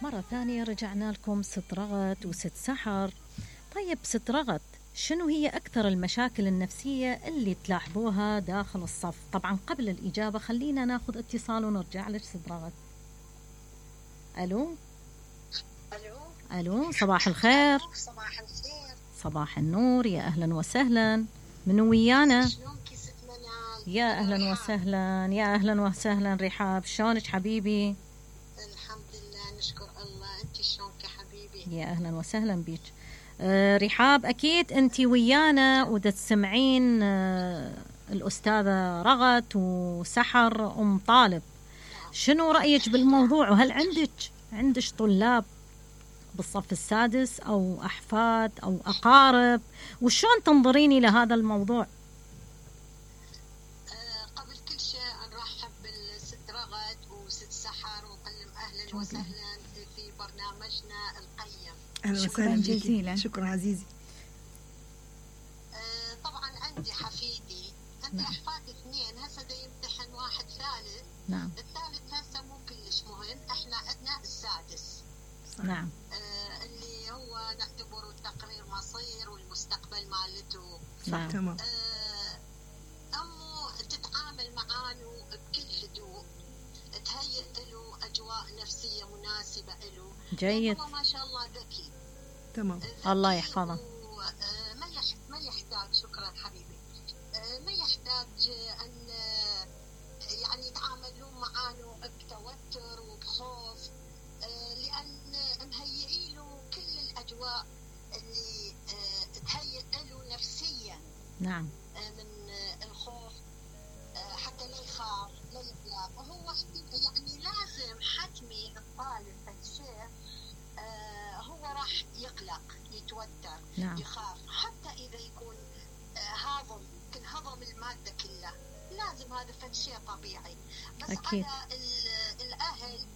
مرة ثانية رجعنا لكم ست رغد وست سحر. طيب ست رغد، شنو هي أكثر المشاكل النفسية اللي تلاحظوها داخل الصف؟ طبعا قبل الإجابة خلينا ناخذ اتصال ونرجع لك ست رغد. ألو ألو، صباح الخير. صباح الخير. صباح النور، يا أهلا وسهلا. منو ويانا؟ شلونك ست منال؟ يا أهلا وسهلا، يا أهلا وسهلا رحاب، شلونك حبيبي؟ الحمد لله نشكر الله، انت شلونك يا حبيبي؟ يا أهلا وسهلا بيك. رحاب، أكيد أنت ويانا وتسمعين الأستاذة رغد وسحر أم طالب. شنو رأيك بالموضوع؟ وهل عندك طلاب بالصف السادس أو أحفاد أو أقارب؟ وشون تنظرين إلى هذا الموضوع؟ قبل كل شيء نرحب بالست رغد وست سحر ونقول أهلا وسهلا في برنامجنا القيم. أهلا وسهلا جزيلا. شكرا عزيزي. طبعا عندي حفيدي، عندي أحفاد اثنين، هسه دا يمتحن واحد ثالث. نعم. الثالث هسه مو كلش مهم، احنا عندنا السادس. نعم. اللي هو نعتبره تقرير مصير والمستقبل مالته. نعم. تمام. أمه تتعامل معانه بكل هدوء، تهيئ له أجواء نفسية مناسبة له. جيد. هو ما شاء الله ذكي. تمام. الله يحفظه. ما يحتاج، شكرا حبيبي، ما يحتاج أن يعني يتعاملون معانه بتوتر وبخوف، لأن مهيئي له كل الأجواء اللي تهيئ له نفسيا. نعم. من الخوف، حتى لا يخاف لا يقلق. وهو يعني لازم حتمي الطالب الشيء هو راح يقلق يتوتر. نعم. يخاف، حتى إذا يكون هضم المادة كلها لازم، هذا فشيء طبيعي. بس أكيد. على الأهل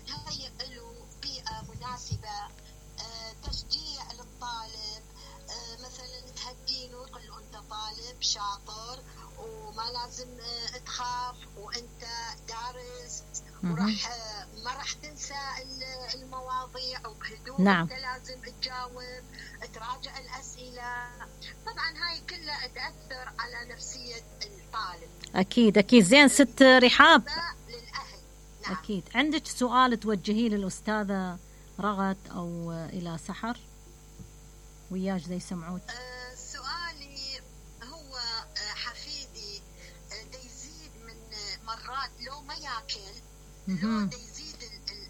تهيئ له بيئة مناسبة، تشجيع للطالب، مثلا تهدينه تقول له أنت طالب شاطر وما لازم تخاف وأنت دارس، وراح ما راح تنسى المواضيع وبهدوء. نعم. أنت لازم تجاوب، تراجع الأسئلة. طبعا هاي كلها تأثر على نفسية الطالب. أكيد. زين ست رحاب، للأهل. نعم. أكيد عندك سؤال توجهيه للأستاذة رغد أو إلى سحر وياش زي يسمعوك؟ سؤالي هو حفيدي دا يزيد من مرات لو ما ياكل، لو دا يزيد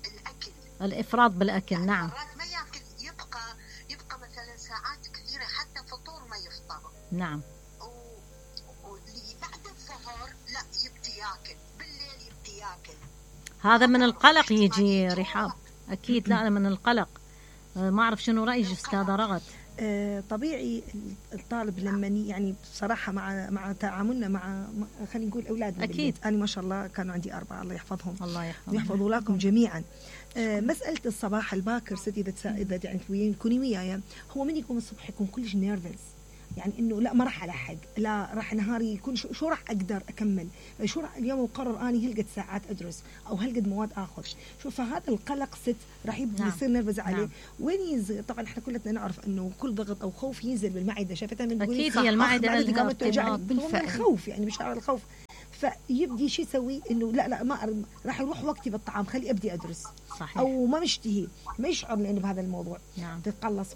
الأكل، الإفراط بالأكل. يعني نعم. مرات ما ياكل، يبقى مثلا ساعات كثيرة حتى فطور ما يفطر. نعم. واللي بعد الظهر لا يبدي ياكل، بالليل يبدي ياكل. هذا من القلق يجي رحاب. أكيد. لا، من القلق. ما أعرف شنو رأيك أستاذة رغد؟ طبيعي الطالب لما يعني بصراحة مع تعاملنا مع خلينا نقول أولادنا أكيد. أنا ما شاء الله كانوا عندي 4، الله يحفظهم. الله يحفظهم ويحفظ أولاكم جميعا. مسألة الصباح الباكر ست إذا يعني تكوني وياي، هو من يقوم الصبح يكون كلش نيرفز، يعني إنه لا ما راح ألحق، لا راح نهاري يكون شو راح أقدر أكمل، شو راح اليوم أقرر أني هلقد ساعات أدرس أو هلقد مواد آخذ. شوف فهذا القلق ست راح يبدأ يصير نرفز عليه. نعم. وين ينزل؟ طبعا احنا كلنا نعرف إنه كل ضغط أو خوف ينزل بالمعدة. شافتها من أكيد. هي المعدة لها ارتباط بالخوف، يعني مشاعر الخوف. فيبدي شو يسوي؟ إنه لا ما راح يروح وقتي بالطعام، خلي أبدي أدرس. صحيح. أو ما مشتهي، ما يشعر لأنه بهذا الموضوع. نعم. تتقلص،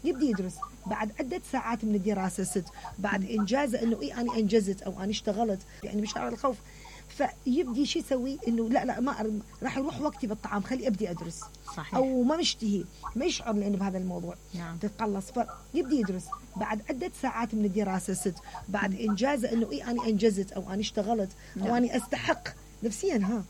فيبدي يدرس بعد عدة ساعات من الدراسة ست، بعد إنجازه إنه أنا أنجزت أو أنا اشتغلت، يعني مشاعر الخوف. فيبدي شو يسوي؟ إنه لا ما راح يروح وقتي بالطعام، خلي أبدي أدرس. صحيح. أو ما مشتهي، ما يشعر لأنه بهذا الموضوع. نعم. تتقلص، فيبدي يدرس بعد عدة ساعات من الدراسة ست، بعد إنجازه إنه أنا أنجزت أو أنا اشتغلت أو أنا أستحق نفسيا.